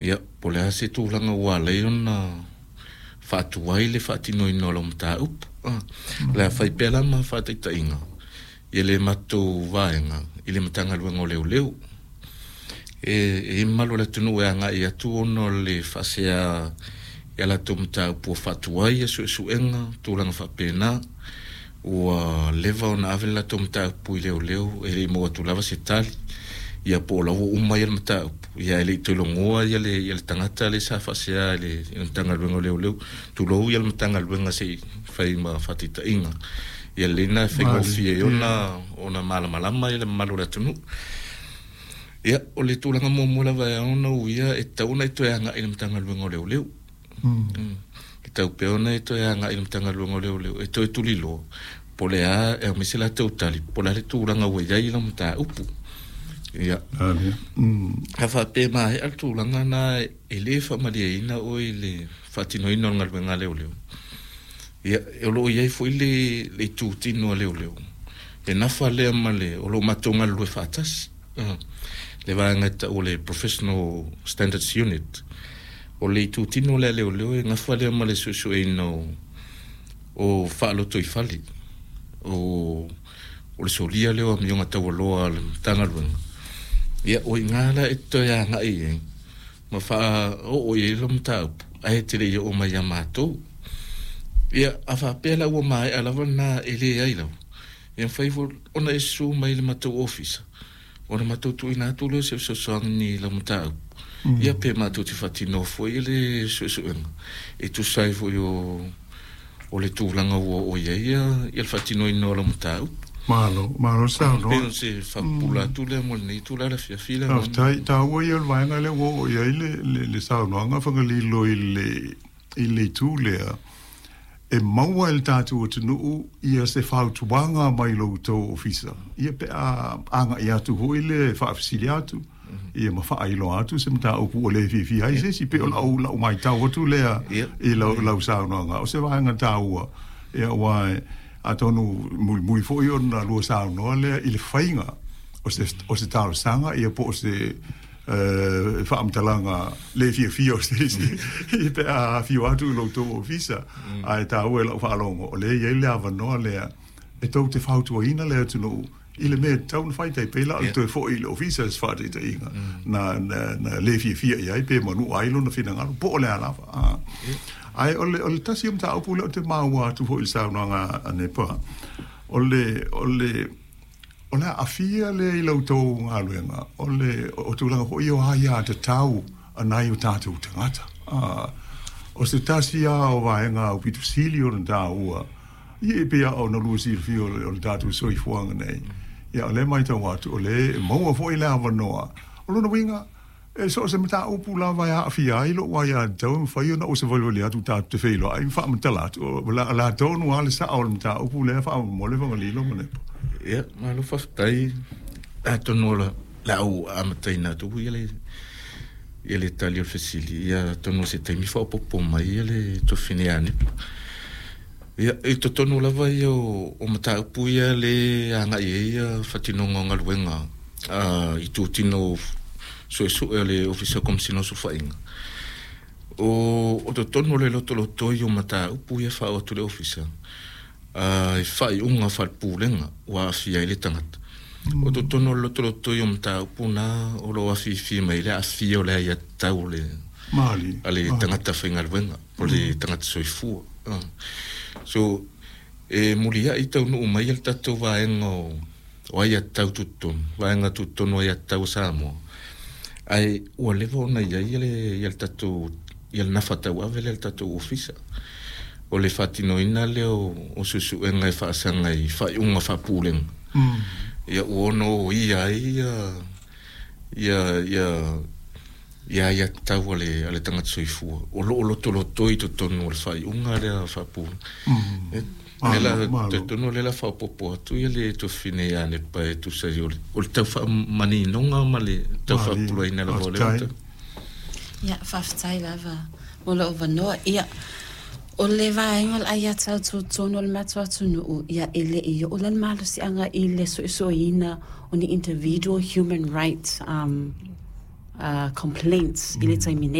Ia, po o le a se tulaga ua ala ai ona faatuai le faatinoina o lau mataupu. O le a fai pea la ma faataitaiga i le matou vaega i le Matagaluega o Leoleo. E i ai mamalu o le atunuu e agai atu ona o le faasea i a latou mataupu ua faatuai suesuega, tulaga faapena. Ua leva ona ave le latou mataupu i leoleo e le i maua atu lava se tali, ia po o la ua uma le mataupu, ia ae le i toe logoa le tagata lea sa faasea i le Matagaluega o Leoleo, tulou le Matagaluega se i fai ma faataitaiga. Ia lelei lena e faigofie ai ona malamalama le mamalu o le atunuu. Ia, o le tulaga muamua lava e ao ona uia, e tatau ona e toe agai i le Matagaluega o Leoleo. E tatau pea ona e toe agai i le Matagaluega o Leoleo e toe tuliloa po o le a, e aumai se latou tali po o le a le tulaga ua i ai lau mataupu. Ia. A faapea e maea le tulaga lena e le faamalieina oe i le faatinoina o le galuega a leoleo, ia, o lo o i ai foi le itutino a leoleo e nafa lea ma le, o lo o matou galulue faatasi, le vaega e tau o le Professional Standards Unit. O le itutino lea a leoleo e nafa lea ma le suesueina o faalotoifale, o le solia lea o amioga taualoa a le Matagaluega. Ia, o i ina la e toe agai i ai ma faaoo i ai lau mataupu, ae te le i oo mai ia matou. Ia, a faapea la ua maea lava lena e leai lava, ia mafai foi ona e susu mai i le matou ofisa, ona matou tuuina atu lea o se fesoasoani i lau mataupu, ia pe matou te faatinoa foi le suesuega e tusa ai foi o le tulaga ua oo i ai le faatinoina o lau mataupu. Malo, malo saunoa. Pei o se faapupula atu lea mo lenei itula i le afiafi lea. Faafetai. Taua ia o le vaega lea ua oo i ai le saunoaga Fagalilo i le itu lea, e maua e le tatou atunuu ia se fautuaga mai lo outou ofisa, ia pe a agai atu foi le faafesili atu, ia ma faailoa atu se mataupu ua le fiafia ai se isi, pei o lau matau atu lea i lau saunoaga. O se vaega taua, ia aua atonu mulimuli foi ona lua saunoa lea i le faiga o se talosaga, ia po o se faamatalaga le fiafia o se isi pe a afio atu i lo outou ofisa. Ae taua i lau faalogo o lea e i ai le avanoa lea e tou te fautuaina le atunuu i le mea e tatau ona fai, tai pei la o le toe foi i le ofisa se faataitaiga na le fiafia i ai pe manua ai lona finagalo po o le a lava. Ae o le tasi o mataupu lea ou te maua atu foi i le saunoaga a Nepa, o le aafia lea i la outou galuega, o le o tulaga foi o aiatatau a nai o tatou tagata. O se tasi lava o vaega aupito sili ona taua, ia e pei lava ona lua silafia o le tatou soifuaga nei. Ia o lea e matau atu, o lea e maua foi le avanoa. O lona uiga, e so o se mataupu lava e aafia ai lou aiatatau, e mafai ona ou savalivali atu tatou te feiloai ma faamatala atu. O le a tonu lava le sao o le mataupu lea faamolemole Fagalilo ma Nepa. Ia, malo faafetai. Atonu o le a ou amataina atu ia le tali o le fesili, ia atonu o se taimi faaopoopo mai le tuafafine ia Nepa. Ia, i totonu lava ia o mataupu ia le agai ai ia faatinoga o galuega itutino suesue o le Ofisa o Komesina o Sulufaiga. O totonu o le lotolotoi o mataupu ia faaoo atu i le Ofisa, e faaiuga faale-pulega ua aafia ai le tagata. O totonu o le lotolotoi o mataupu na o lo o afifi mai le aafia o le aiatatau a le tagata faigaluega, o le tagata soifua. So, e muliai taunuu mai le tatou vaega o aiatatau tutotonu, vaega tutotonu o aiatatau a Samoa, ae ua leva ona i ai le tatou, ia le nafa tauave lea le tatou ofisa, o le faatinoina lea o suesuega e faasaga i faaiuga faapulega. Ia ua ono oia ai ia aiatatau a le tagata soifua, o lo o lotolotoi totonu o le faaiuga lea faapulega. Totonu o le la faaopoopo atu ia le tuafafine ia Nepa e tusa ai o le tau faamaninoga ma le tau faapupulaina lava o lea. Ia, faafetai lava mo lou avanoa. Ia, o le vaega o le aiatatau tutotonu o le matou atunuu, ia e le i oo la le malosiaga i le suesueina o ni individual human rights. complaints i le taimi nei.